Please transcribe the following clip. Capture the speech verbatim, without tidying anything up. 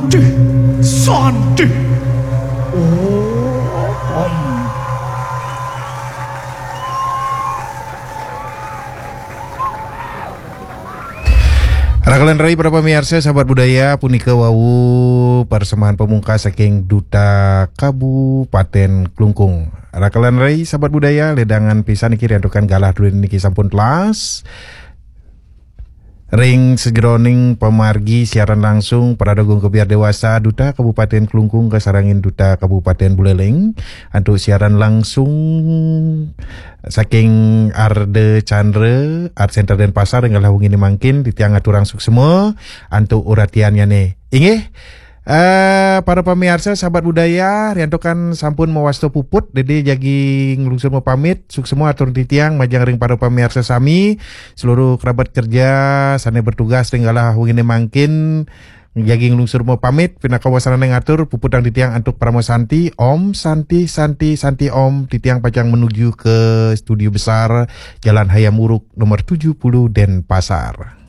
Santi, Santi. Om. Rakalan rai para pamiarsa, sahabat budaya, punika wau persembahan pamungkas saking Duta Kabupaten Klungkung. Rakalan rai, sahabat budaya, ledangan pisan niki riantukan galah durin niki sampun telas. Ring sajeroning pamargi siaran langsung, Parade Agung Kebyar Dewasa, Duta Kabupaten Klungkung kasarengin Duta Kabupaten Buleleng, antuk siaran langsung saking Arda Chandra Art Center Denpasar, ring galah wengine mangkin, titiang aturang suksma antuk uratiannyane. Inggih, eh, para pamiarsa, sahabat budaya, riantukan sampun mawasta puput, dadi jagi nglungsur mapamit, suksma atur titiang majeng ring para pamiarsa sami, seluruh kerabat kerja sane bertugas ring galah wengine mangkin, jagi nglungsur mapamit, pinaka wasananing atur, puputang titiang antuk Parama Santi, Om Santi, Santi, Santi Om, titiang pacang menuju ke studio besar, Jalan Hayam Wuruk, nomor tujuh puluh, Denpasar.